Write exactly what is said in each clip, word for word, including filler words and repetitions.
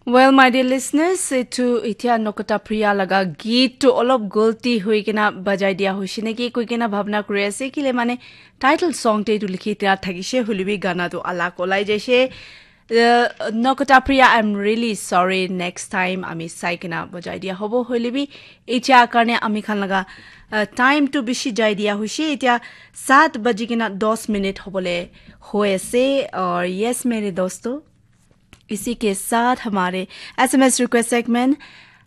Well, my dear listeners, etu etia Nokota Priya laga geet tu olop golti hui kena bajai dia hoise neki koi kena bhabna kuri ase, kile mane title song te etu likhi dia thakise, hoile bi gana tu alag olai jaise. Uh, Nokota Priya, I'm really sorry. Next time ami sai kena bajai dia hobo, hoile bi etia karne ami khan laga uh, time tu bishi jai dia hoise. Etia saat baji kena dos minute hobole hoi ase. Aur yes, mere dosto, इसी के साथ हमारे एसएमएस रिक्वेस्ट सेगमेंट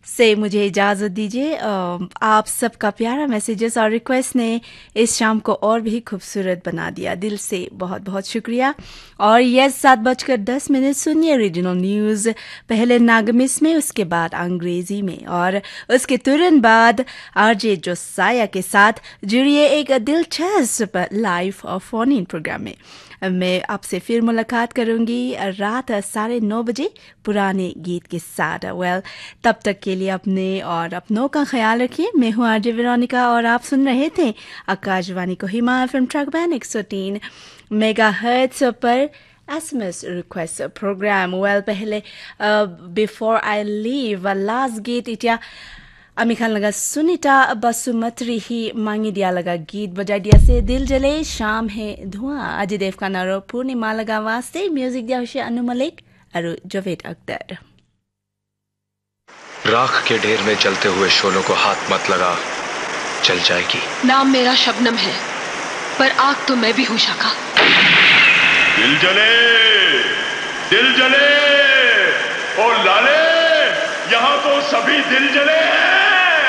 से मुझे इजाज़त दीजिए। अ, आप सबका प्यारा मैसेजेस और रिक्वेस्ट ने इस शाम को और भी खूबसूरत बना दिया। दिल से बहुत बहुत शुक्रिया। और यस, सात बजकर दस मिनट, सुनिए रीजनल न्यूज़, पहले नागमिस में, उसके बाद अंग्रेजी में और उसके तुरंत बाद आरजे जोसाया के साथ जुड़िए एक दिलचस्प लाइव और फोन इन प्रोग्राम में। मैं आपसे फिर मुलाकात करूंगी रात साढ़े नौ बजे पुराने गीत के साथ। वेल, तब तक के लिए अपने और अपनों का ख्याल रखिए। मैं हूं आरजे वेरोनिका और आप सुन रहे थे आकाशवाणी कोहिमा एफएम ट्रैक बैंड एक सौ तीन मेगाहर्ट्ज पर एसएमएस रिक्वेस्ट प्रोग्राम। वेल, पहले बिफोर आई लीव, लास्ट गीत इटिया ami khan laga Sunita Basumatri hi mangi dia laga geet bajai dia ase, Dil Jale Shaam Hai Dua. Ajay Devgan aro Purnima laga waste music dia hoise Anu Malik aro Javed Akhtar. राख के ढेर में जलते हुए शोलों को हाथ मत लगा, जल जाएगी। नाम मेरा शबनम है, पर आग तो मैं भी हूँ शाखा। दिल जले, दिल जले, ओ लाले, यहाँ तो सभी दिल जले हैं।